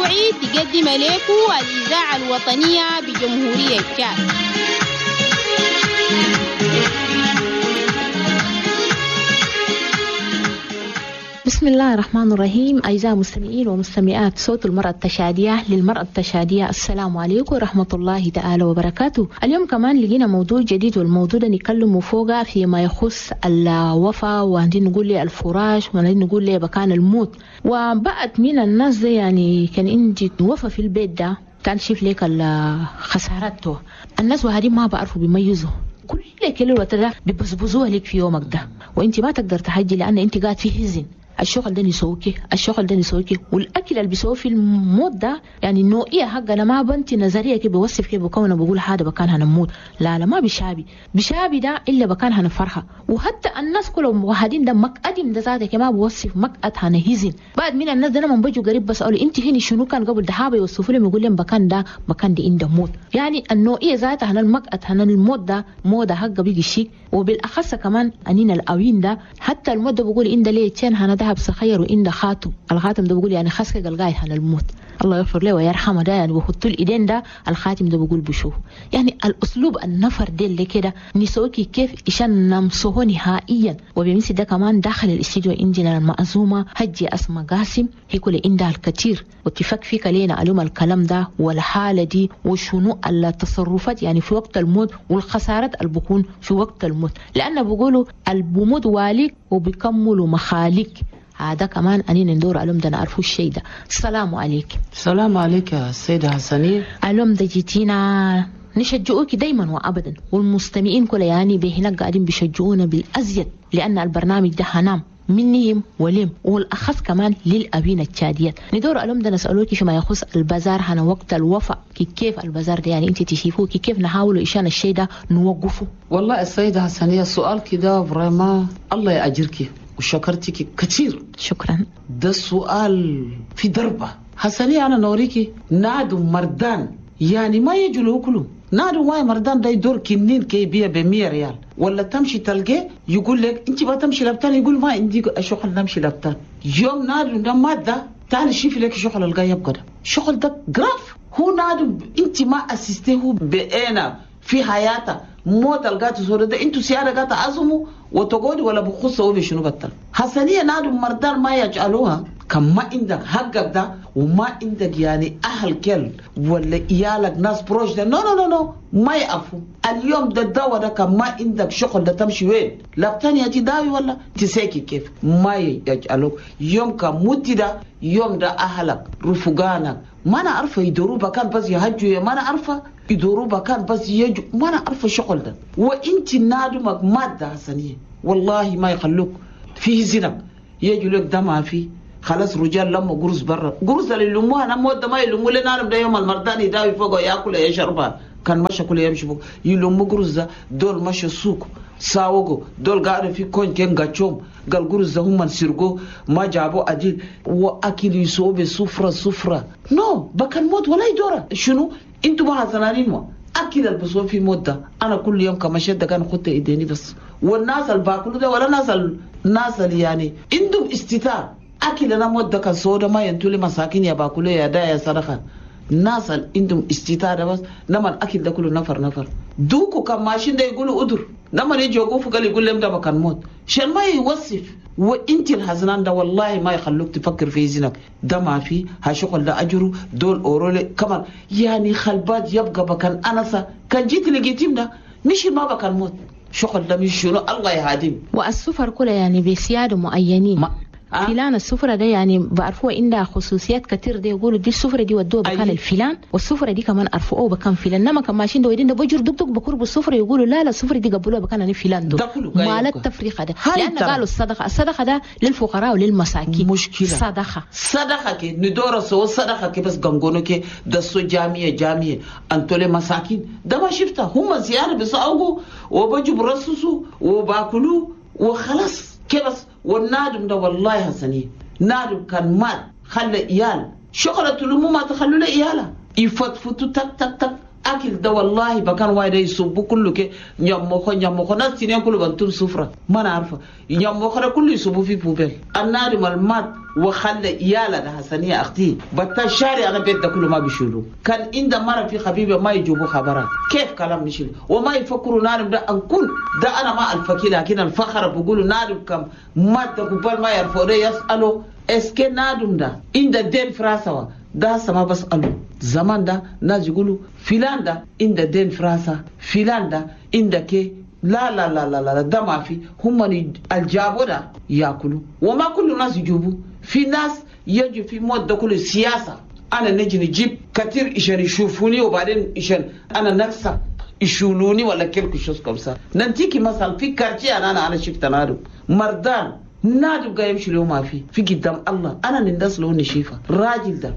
الأسبوعي تقدم لكم الإذاعة الوطنية بجمهورية تشاد. بسم الله الرحمن الرحيم. أعزائي المستمعين ومستمعات صوت المرأة التشادية للمرأة التشادية، السلام عليكم ورحمة الله تعالى وبركاته. اليوم كمان لقينا موضوع جديد، والموضوع ده نتكلم فوقه فيما يخص الوفاة، وعندنا نقول لي الفراش، وعندنا نقول لي بكان الموت. وبعد من الناس ده يعني كان عندي وفاة في البيت ده كان شايف لك الخسارات، الناس وهذه ما بعرفوا بيميزوا كل كل وقت ده بيبزبزوها لك في يومك ده، وانت ما تقدر تحجي لان انت قاعد في حزن. الشغل ده نسوكي، الشغل ده نسوكي، والاكل اللي بيسوي في الموت ده يعني النوعية حقنا ما بنتي نظرية كيف بوصف كيف بكون بقول هذا بكان هنموت، لا لا ما بشابي بشابي ده الا بكان هنفرحه. وحتى الناس كلهم واحدين ده مقدم ده ذاته كما بوصف مقعد هنهزن. بعد من الناس ده لما بيجوا قريب بسالوا انت هني شنو كان قبل ده، حابة يوصفوا لهم يقول لهم بكان ده بكان ده عند موت. يعني النوعية ذاتها هن المقعد هن الموت ده موت حقه بيجي شيء. وبالاخص كمان انين الاوين ده حتى الموت ده بقول ان ده ليه تشان هنا ده بصخير وإن خاتم الخاتم ده بقول يعني خسك الغاية عن الموت، الله يغفر له ويرحمه. ده يعني بحط الايدين ده الخاتم ده بقول بشوف يعني الاسلوب النفر ده اللي كده نسوكي كيف عشان نمسه نهائيا. وبمثل ده كمان داخل الاستديو عندنا المأزومة هجي أسماء قاسم، هي كل عندها الكثير واتفق فيك لينا علوم الكلام ده والحالة دي وشنو التصرفات يعني في وقت الموت والخسارات اللي بكون في وقت الموت، لأن بيقولوا البموت والك وبيكملوا مخالك. هذا كمان أنين ندور علوم ده نعرفوا الشيء ده. السلام عليك. السلام عليك يا السيدة حسنية. علوم ده جيتينا نشجعوك دايما وأبدا، والمستمعين كل يعني بهناك قاعدين بيشجعونا بالأزيد، لأن البرنامج ده هنام منهم ولم، والأخص كمان للأبين التشاديات. ندور علوم ده نسألوك فيما يخص البازار هنا وقت الوفاة، كيف البازار ده يعني انت تشوفوه كيف نحاولوا إشان الشيء ده نوقفه. والله السيدة حسنية السؤال كده vraiment الله يأجرك وشكرتك كثير. شكرا. ده السؤال في دربة حسنية. أنا نوريكي نادو مردان يعني ما يجوا كله نادو ما مردان ده يدور كنين كي بيع ب100 ريال، ولا تمشي تلقى يقول لك انت ما تمشي لبتان، يقول ما عندي شغل نمشي لبتان. يوم نادو ده مادة تعال شوف لك شغل القى يبقى ده شغل ده grave. هو نادو انت ما اسستيه بأنا في حياته موت القات صورة ده انتو سيارة قات عزموا وتقعدوا ولا بخصوا وبشنو بطل. حسنية نادو مردان ما يجعلوها كم ما عندك حقك ده وما عندك يعني أهل كل ولا إيالك ناس proches ده no no no no ما يقفوا. اليوم ده الدواء ده كم ما عندك شغل ده تمشي وين لابتاني تداوي ولا تساكي كيف ما يجعلوك. يوم كموتي ده يوم ده أهلك رفقانك ما أنا عارفة يدوروا بكان بس يهجوا، ما أنا عارفة يدوروا بكان بس يجوا، ما أنا عارفة شغل ده. وإنت نادمك مادة حسنية والله ما يخلوك فيه زنب يجوا لك ده ما فيه خلاص. رجال لما قرص برا قرص اللي يلموها انا مود ما يلموا لنا انا ده يوم المردان يداوي فوق ياكل يشربها كان مشى كل يمشي فوق يلموا قرص ده دول مشى السوق ساوغو دول قاعدوا في كون كان غاتشوم قال قرص ده هم سرقوا ما جابوا اديل واكل يسووا بسفره سفره no بكن موت ولا يدورا شنو انتوا ما حزنانين ما اكل البسوا في موت ده. انا كل يوم كما شد كان خدت ايديني بس والناس اللي باكلوا ده ولا ناس الناس اللي يعني عندهم استتار أكل أنا مودة كان سودا ما ينتولي مساكين يا باكله يا دا يا صدقة. الناس اللي عندهم استطاعة بس نما الأكل ده كله نفر نفر دوكو كان ماشين ده يقولوا أدر نما يجي يوقفوا قال يقول لهم ده مكان موت شان ما يوصف. وانت الحزنان ده والله ما يخلوك تفكر في زينك ده ما في هشغل ده أجره دول أورولي كمان يعني خلبات يبقى بكان أنسة كان جيت لقيتهم ده مش ما بكان موت شغل ده مش شنو الله يهديم. والسفر كله يعني بسيادة معينين فلان السفرة ده يعني بعرفوه عندها خصوصيات كتير، ده يقولوا دي السفرة دي ودوها بكان الفلان والسفرة دي كمان عرفوه بكان فلان، انما كان ماشيين ده ويدين ده بجر دق دق بقرب السفرة يقولوا لا لا السفرة دي قبلوها بكان انا فلان دو ما التفريقة ده، لأن قالوا الصدقة الصدقة ده للفقراء وللمساكين مشكلة صدقة صدقة كي ندور سو صدقة كي بس غنغونو كي ده سو جامية جامية أنتولي مساكين ده ما شفتها هم زيارة بس أوجو وبجوا برسوسو وباكلوا وخلاص كبس. والنادم ده والله حسني نادم كان مات خلى إيال شغلة لمو ما تخلوا له إياله يفتفتوا تك تك تك أكل ده والله بكان وايد يصبوا كله كي نيموخو نيموخو ناس تنين كله بنتم سفرة ما نعرفه نيموخو ده كله يصبوا في poubelle. النادم المات وخلى إيالة ده حسنية أختي بتا شارع أنا بيت ده كله ما بيشيلوا. كان عند مرة في خبيبة ما يجيبوا خبرات كيف كلام نشيل وما يفكروا نادم ده أنكون ده أنا ما الفكي لكن الفخر بيقولوا نادم كم مات ده قبل ما يرفعوا يسألوا est-ce que نادم ده عند دين فراسوا ده سما بسألوا زمان ده ناس يقولوا فلان ده عند دين فراسا فلان ده عند كي لا لا لا لا لا ده ما في. هم الجابوا ده ياكلوا وما كل الناس يجيبوا. في ناس يجي في موت ده كله سياسة. أنا نجي نجيب كثير عشان يشوفوني وبعدين عشان أنا نفسي يشولوني ولا quelque chose comme ça. ننتيكي مثلا في quartier أنا شفت نادم مردان نادم قايم يمشي له ما في قدام الله أنا نندس له نشيفة راجل ده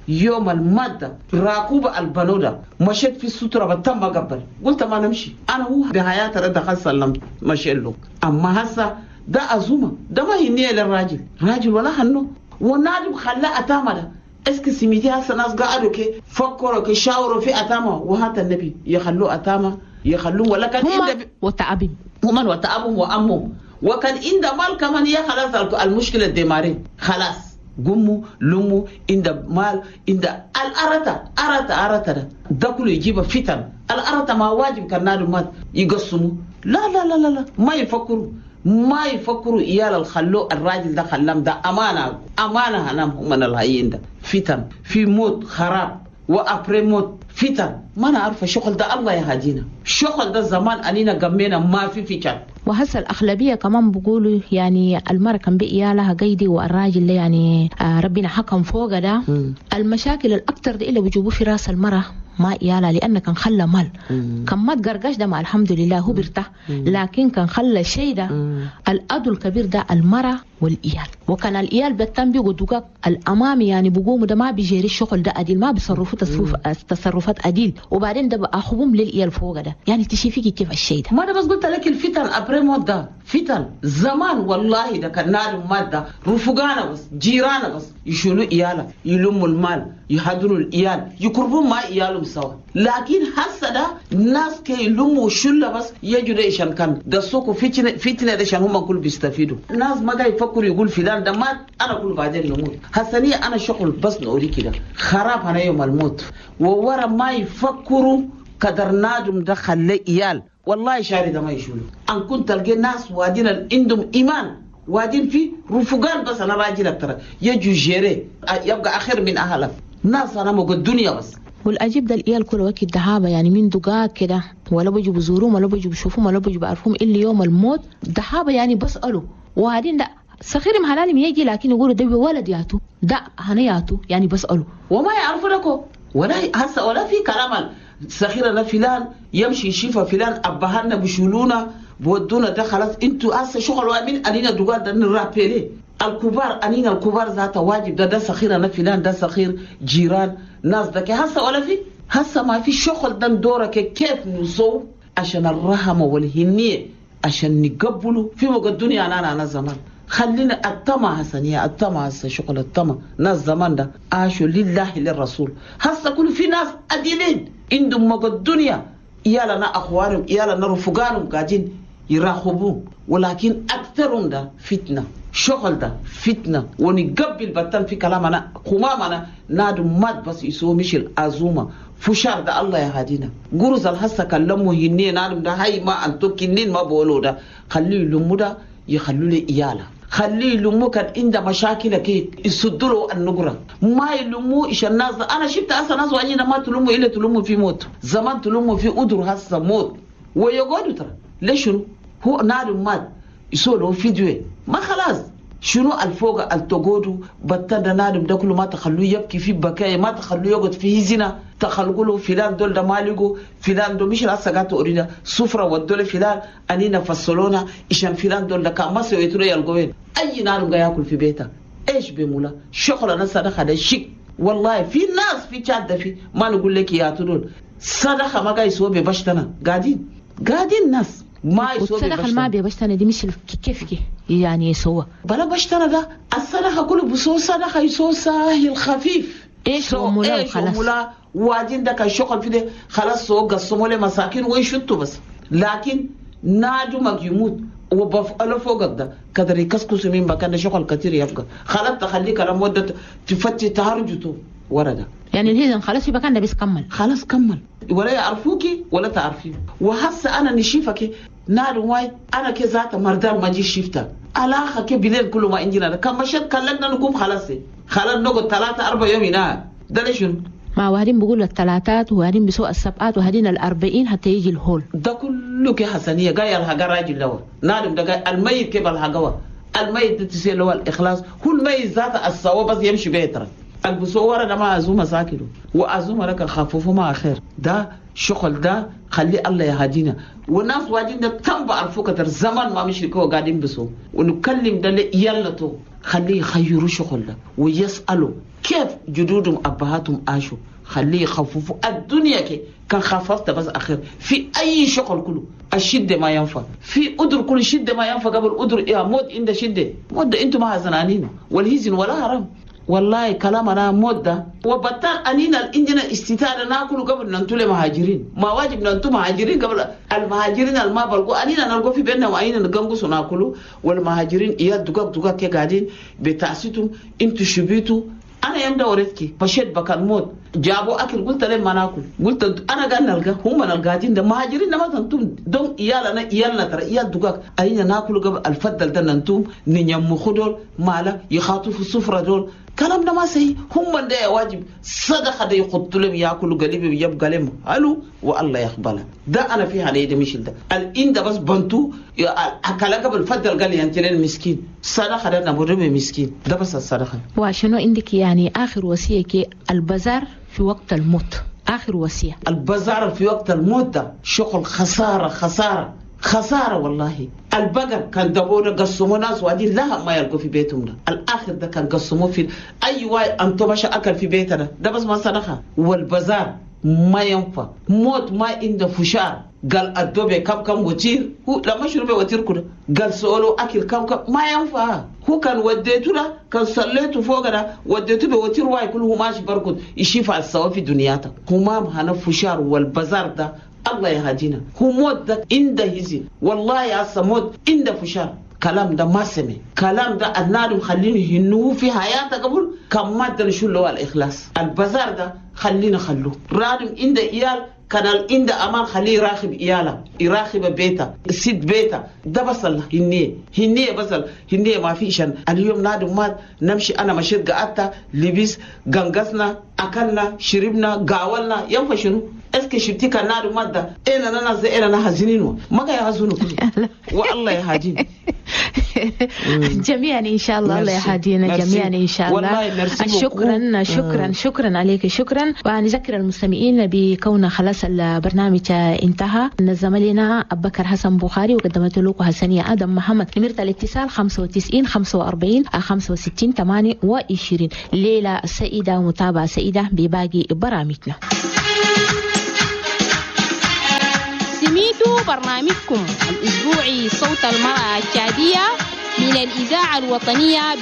يوم المادة راكوبة البنودة مشيت في السترة بتم قبل قلت ما نمشي أنا هو بحياة رد خاصة سلمت مشي له. أما هسا ده أزومة ده ما هي للراجل راجل ولا هنو ونادم خلا أتامة ده est-ce que سميتي هسا ناس قعدوا كي فكروا كي شاوروا في أتامة وهات النبي يخلوا أتامة يخلوا ولا كان هم وتعبهم هم وتعبهم وأمهم وكان عند مال كمان يا خلاص المشكلة ديماري خلاص قموا لموا عند مال عند الأرتا أرتا أرتا ده كله يجيب فتن. الأرتا ما واجب كان نادم مات يقسموا لا لا لا لا لا ما يفكروا ما يفكروا إيال الخلو الراجل ده خلام ده أمانة أمانة هنام هم من الهين ده فتن في موت خراب وأبري موت فتن ما نعرف شغل ده الله يهدينا شغل ده زمان أنينا قمينا ما في فتن. وهسه الأغلبية كمان بيقولوا يعني المرأة كان بإيالها قيدي والراجل يعني ربنا حكم فوق ده. المشاكل الأكثر دي اللي بيجيبوه في راس المرأة ما إيالها لأن كان خلى مال كان ما تقرقش ده مع الحمد لله هو بيرتاح، لكن كان خلى شيء ده الأدو الكبير ده المرأة والإيال. وكان الإيال بتم بيقوا دقاق الأمامي يعني بقوموا ده ما بيجيري الشغل ده أديل ما بيصرفوا تصرفات أديل وبعدين ده بأخوهم للإيال فوق ده يعني تشوفي كيف الشيء ده. ما أنا بس قلت لك الفتن أبري مودة فتن زمان والله ده كان نار مادة رفقانا بس جيرانا بس يشيلوا إيالا يلموا المال يحضروا الإيال يقربوا ما إيالهم سوا. لكن هسه ده ناس كي يلموا شلة بس يجوا ده إشان كان ده سوق فتنة فتنة ده عشان هم كل بيستفيدوا. ناس ما جاي يفكروا يقول فلان ده مات أنا كل بعدين نموت. هسني أنا شغل بس نوري كده خراب أنا يوم الموت وورا ما يفكروا قدر نادم ده خلي إيال والله شاري ده ما يشولوا. أن كنت تلقي ناس وادين عندهم إيمان وادين في رفقان بس أنا راجل أكتر يجوا جيري يبقى آخر من أهله ناس أنا موجود الدنيا بس. والأجيب ده الإيال كل وقت دهابة يعني من دقاق كده ولا بيجوا بزوروهم ولا بيجوا بشوفهم ولا بيجوا بعرفهم إلا يوم الموت دهابة يعني بسألوا وبعدين ده صغير مهلالم يجي لكن يقولوا ده ولد ياتو ده هنياتو يعني بسألوا وما يعرفوا لكم ولا هسه ولا في كلام صغير فلان يمشي يشوف فلان أبهنا بشولونا بودونا ده خلاص انتوا هسه شغل من أنينا دقاق ده نرابيلي الكبار أنينا الكبار ذات واجب ده ده صغير أنا فلان ده صغير جيران ناس ده هسه ولا في هسه ما في شغل ده دورك كيف نصو عشان الرحمة والهنية عشان نقبله في وقت الدنيا أنا زمان خلينا الطمع حسنية الطمع هسه شغل الطمع ناس زمان ده عاشوا لله للرسول. هسه كل في ناس أديلين عندهم وقت الدنيا يالا أخوانهم يالا رفقانهم قاعدين يراقبون ولكن أكثرهم ده فتنة شغل ده فتنة ونقبل بطن في كلامنا قمامنا نادم مات بس يسوي مش الأزومة فشار ده الله يهدينا قرز الحسة كلمه هني نادم ده هاي ما أنتو كنين ما بقولوا ده خليه يلمو ده يخلوا لي إياله خليه يلمو كان عنده مشاكل كي يصدروا النقرة ما يلمو إيش الناس أنا شفت أصلا ناس وعنينا ما تلمو إلا تلمو في موت زمان تلمو في أدر هسه موت ويقعدوا ترى ليش هو نادم مات يسوي له فيديو ما خلاص شنو الفوق التقودو بتدا نادم ده كله ما تخلوه يبكي في بكاء ما تخلوه يقعد في زنا تخلقوا له فلان دول ده مالجو فلان دول مش راسه قاتو أريدا سفرة ودول فلان أنينا فصلونا إشان فلان دول ده كان ما سويتوا يلقوين أي نادم جاي ياكل في بيته إيش بمولا شغل أنا صدقة ده شيك والله في ناس في شادة في ما نقول لك يا تدول صدقة ما جاي يسوي ببشتنا قاعدين قاعدين ناس ما يسوي والصدقة ما بيبشتنا دي مش كيف يعني يسوى بلا بشتنا ده الصدقة كله بصو صدقة يسوى ساهل خفيف إيش ومولا وخلاص ومولا واجين ده كان شغل في ده خلاص سو قسموا له مساكين ويشتوا بس. لكن نادمك يموت وبفعله فوقك ده كدر يكسكس من مكان شغل كتير يبقى خلاص تخليك على مدة تفتي تهرجته ورا ده. يعني الهزم خلاص يبقى كان بس كمل خلاص كمل ولا يعرفوكي ولا تعرفيه. وهسه انا نشيفك نار واي انا كذات مردان ما جي شفتا علاقه كي بليل كل ما عندنا كم مشت كلنا نقوم خلاص خلاص نقعد 3 4 يوم هنا ده ليش ما وهدين بيقولوا الثلاثات وهدين بسوق السبعات وهدين 40 حتى يجي الهول ده كله كي حسنيه جاي الحاجه راجل لو نادم ده جاي الميت كيف الحاجه الميت تسيل له الاخلاص هو الميت ذات الصواب بس يمشي بيتره البصورة ده ما أزومة ساكنه وأزومة لك خففوا ما خير ده شغل ده خلي الله يهدينا. والناس واجين ده تم بعرفوا كتر زمان ما مشركوا قاعدين بسو ونكلم ده يلا تو خليه يخيروا شغل ده ويسألوا كيف جدودهم أبهاتهم عاشوا خليه يخففوا الدنيا كي كان خففت بس أخير في أي شغل كله الشدة ما ينفع في أدر كل شدة ما ينفع قبل أدر يا موت عند شدة موت أنتم ما زنانين والهزن ولا حرام والله كلامنا مودة وبطل أنينا عندنا استطاعة ناكل قبل ننتو مهاجرين ما واجب ننتو مهاجرين قبل المهاجرين الما بلقوا أنينا نلقوا في بيننا وأنينا نقنقص وناكلوا والمهاجرين إياه دقاق دقاق كي قاعدين بتعسيتم انتو شبيتوا أنا يوم دورتك مشيت بكان موت جابوا أكل قلت لهم ما ناكل قلت أنا قاعد نلقى هم نلقاين ده مهاجرين ما تنتم دون إيالنا إيالنا ترى إيال دقاق أين ناكل قبل الفضل ده ننتم نيم خدول مالا يخاطوا في السفرة دول كلامنا ما سهي هم ده واجب صدقة ده يحطوا لهم ياكلوا قليب يبقى لهم هلو والله يقبلها ده أنا في عليه ده مش ده الإن ده بس بنتو أكل قبل الفضل قال لي أنت المسكين صدقة ده نبرم مسكين ده بس الصدقة. وشنو عندك يعني آخر وصية كي البزار في وقت الموت آخر وصية؟ البزار في وقت الموت ده شغل خسارة خسارة خسارة والله. البقر كان دبونا قسموا ناس وادين لها ما يلقوا في بيتهم ده الآخر ده كان قسموه في أي واي أنتم مش أكل في بيتنا ده بس ما صدقة. والبزار ما ينفع موت ما عنده فشار قال الدوبي كم كم وتير هو لما شرب وتير كده قال سؤاله أكل كم كم ما ينفع هو كان وديته له كان صليته فوق ده وديته بوتير واي كله ماشي بركض يشيف على السوا في دنياته همام هنا فشار والبزار ده الله يهدينا هو موت ده عنده هزي والله يا موت عنده فشار كلام ده ما سمع كلام ده النار خليني هنو في حياته قبل كم ما ده شو اللي هو الإخلاص البزار ده خلينا خلوه رادم عنده إيال كان عند أمان خليه يراقب إياله يراقب بيته سيد بيته ده بس هنية هنية بس هنية ما فيش. اليوم نادم مات نمشي أنا مشيت قعدت لبس غنغسنا أكلنا شربنا قاولنا ينفع شنو اسكي شفتي كان نادم مات ده أنا أنا زي أنا حزينين ما قاعد يحزنوا كله والله يهدينا جميعا إن شاء الله الله يهدينا جميعا إن شاء الله. شكرا شكرا شكرا عليك شكرا. ونذكر المستمعين بكون خلاص البرنامج انتهى. نظم لنا أبو بكر حسن بخاري وقدمت لكم حسنية آدم محمد. نمرة الاتصال 95 45 65 28. ليلة سعيدة ومتابعة سعيدة بباقي برامجنا. سميتوا برنامجكم الأسبوعي صوت المرأة التشادية من الإذاعة الوطنية.